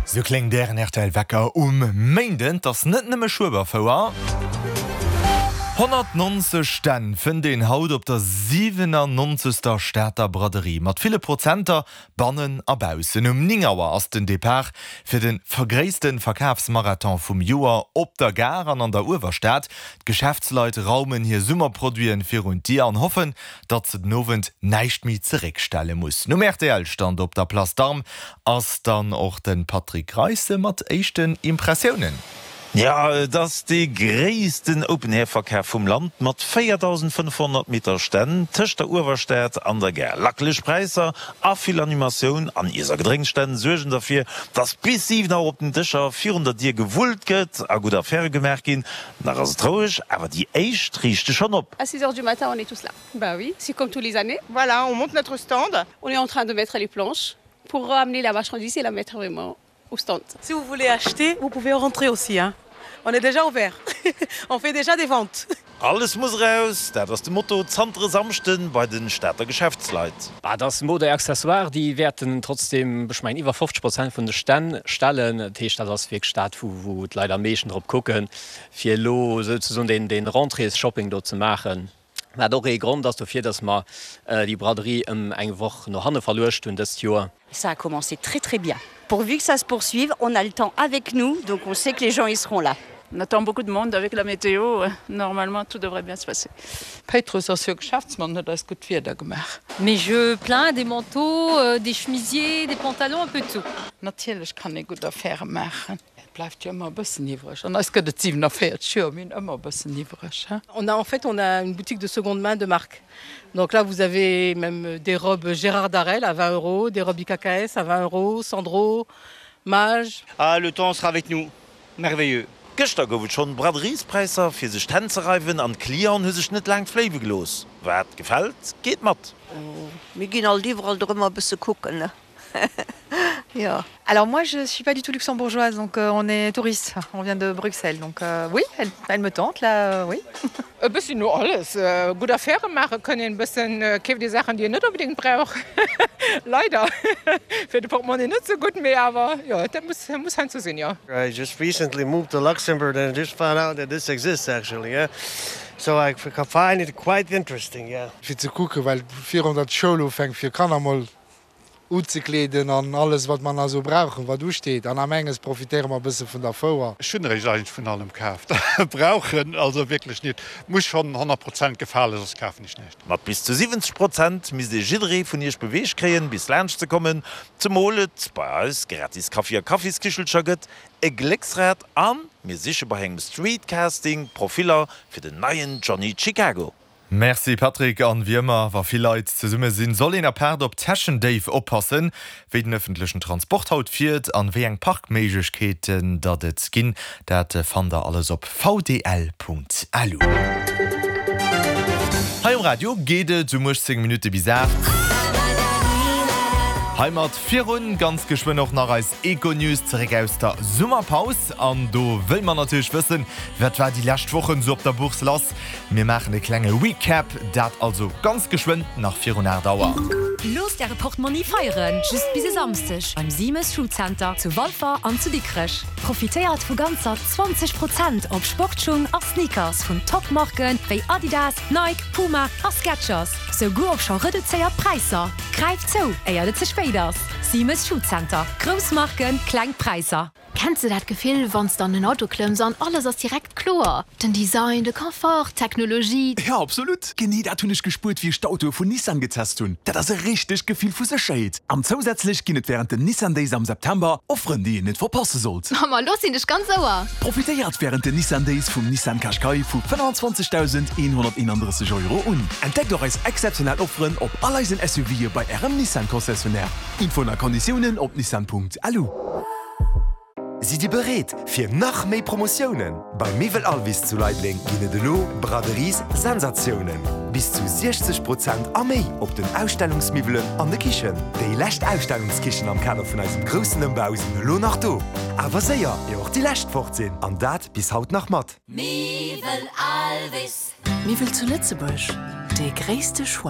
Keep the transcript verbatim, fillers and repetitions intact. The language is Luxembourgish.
Sou kléngt ären rtl Wecker um Méinden. 't ass net nëmme Schueberfouer. Honnertnonzeg Stänn fënnt een haut op der siwenannonzegster Stater Braderie, mat ville Prozenter bannen a baussen. Um néng Auer ass den Depart fir de gréisste Verkafsmarathon vum Joer op der Gare an an der Uewerstad. D'Geschäftsleit raumen hir Summerproduiten virun d'Dier an hoffen, datt se den Owend näischt méi zeréckstelle mussen. Um R T L-Stand op der Place d'Armes ass dann och de Patrick Greisse mat éischten Impressiounen. Ja, et ass dee gréissten Open-Air-Verkaf vum Land mat véierdausendfënnefhonnert Meter Stänn tëscht der Uewerstad an der Gare. Lackeleg Präisser a vill Animatioun an Iess a Gedrénksstänn suergen derfir, dass bis siwen Auer op den Dëscher virun der Dier gewullt gëtt a gutt Affäre gemaach ginn. Nach ass et roueg, awer déi éischt riichte schonn op. À six heures du matin, on est tous là. Bah oui, c'est comme tous les années. Voilà, on monte notre stand. On est en train de mettre les planches pour ramener la marchandise et la mettre vraiment au stand. Si vous voulez acheter, vous pouvez rentrer aussi. Hein. On est déjà ouvert. On fait déjà des ventes. Alles muss raus, dat ass de Motto zanter e Samschden bei de Stater Geschäftsleit. Bah, dat ass Mode Accessoire, déi wäerten trotzdem ech mengen iwwer fofzeg Prozent vun de Stänn stellen. Dat heescht, dat ass wierklech dat, wou, wou d'Leit am meeschten drop kucken, fir lo souzesoen den, den Rentrées-Shopping do ze maachen. Wat och ee Grond ass dofir, dass mer äh, déi Braderie ëm eng Woch no hanne verluecht hunn dëst Joer. Ça a commencé très très bien. Pourvu que ça se poursuive, on a le temps avec nous, donc on sait que les gens ils seront là. On attend beaucoup de monde avec la météo. Normalement, tout devrait bien se passer. Péitrus ass jo Geschäftsmann, huet eis gutt Wieder gemaach. Mes jeux plein, des manteaux, euh, des chemisiers, des pantalons, un peu de tout. Natierlech kann ee gutt Affäre maachen. Et bleift jo ëmmer e bëssen iwwreg. An eis gëtt et siewenanvéierzeg Joer, mir hunn ëmmer e bëssen iwwreg. On a en fait on a une boutique de seconde main de marque. Donc là vous avez même des robes Gérard Darel à vingt euros, des robes I K K S à vingt euros, Sandro, Mage. Ah, le temps sera avec nous. Merveilleux. Gëschter gouf et schonn Braderiespräisser fir sech d'Hänn ze reiwen an d'Clienten hu sech net laang fléiwe gelooss. Wat gefält, geet mat. Mir ginn alt iwwerall drëmmer bësse kucken, ne? Ja. Alors moi je suis pas du tout luxembourgeoise, donc euh, on est touriste, on vient de Bruxelles, donc euh, oui, elle, elle me tente là, euh, oui. E bëssen no alles äh, gutt Affäre maache kënnen, e bëssen äh, keeft déi Saachen, déi een net onbedéngt brauch. Leider fir de Portemonnaie net sou gutt, mee awer jo, dat muss, muss heiansdo sinn, jo. I just recently moved to Luxembourg and I just found out that this exists actually, yeah. So I find it quite interesting, yeah. Fir ze kucken, well virun der d'Schoul ufänkt fir Kanner mol unzekleeden an alles wat man also brauchen, wat usteet. An am enges profitéiere mer bësse vun der Fouer. Ech hunn eigentlech vun allem kaaft. Brauchen also wierklech net, muss schonn honnert Prozent gefalen, soss kafen ech näischt. Mat bis zu siwwenzeg Prozent misst ee jidderee vun iech beweegt kréien, bis laanscht ze kommen, zemol et bei eis gratis Kaffi a Kaffiskichelcher gëtt, e Glécksrad a mir siche bei engem Streetcasting Profiller fir den neien Johnny Chicago. Merci Patrick. An wéi ëmmer, wa vill Leit zesumme sinn, soll een apaart op Täschendéif oppassen. Wéi den ëffentlechen Transport haut fiert an wéi eng Parkméiglechkeeten datt et ginn, dat fannt der alles op V D L Punkt L U. Hei um Radio geet et um uechtzéng Minutte bis aacht. Heimat virun, ganz geschwënn och nach eis Econews zeréck aus der Summerpaus. An do wëlle mer natierlech wëssen, wat war déi lescht Wochen sou op der Bourse lass. Mir maachen e klenge Recap, dat also ganz geschwënn nach virun aacht Auer. Loosst äre Portmonni feieren, just bis e Samschdeg beim Siemes Schuhcenter zu Walfer an zu Dikrech. Profitéiert vu ganzer zwanzeg Prozent op Sportschung a Sneakers vun Topmarken wéi Adidas, Nike, Puma a Skechers. Souguer op scho reduzéiert Präisser. Gräift zou, éier et ze spéit ass. Siemes Schuhcenter. Grouss Marken, kleng Präisser. Kenns du dat Gefill, wann s de an den Auto klëmms an alles ass direkt kloer? Den Design, de Confort, d'Technologie. Ja, absolut. Genee dat hunn ech gespuert, wéi ech d'Autoe vun Nissan getest hunn. Dat ass e richtegt Gefill vu Sécherheet. An zousätzlech ginn et wärend den Nissan Days am September Offeren, déi een net verpasse sollt. Ma lo sinn ech ganz Ouer. Profitéiert wärend den Nissan Days vum Nissan Qashqai vu fënnefenzwanzegdausendeenhonnerteenandrësseg Euro un. Entdeckt och eis exzeptionell Offeren op all eisen S U Vë bei ärem Nissan Concessionnaire. Infoen a Konditiounen op nissan Punkt L U. Sidd Dir bereet fir nach méi Promotiounen? Bei Miwwel Alvis zu Leideleng ginn et elo Braderies Sensatiounen. Bis zu siechzeg Prozent a méi op den Ausstellungsmiwwelen an de Kichen. Déi lescht Ausstellungskichen am Kader vun eisem groussen Ëmbau sinn elo nach do. Awer séier, ier och déi lescht fort sinn. An dat bis haut nach mat. Miwwel Alvis. Miwwel zu Lëtzebuerg, de gréisste Choix.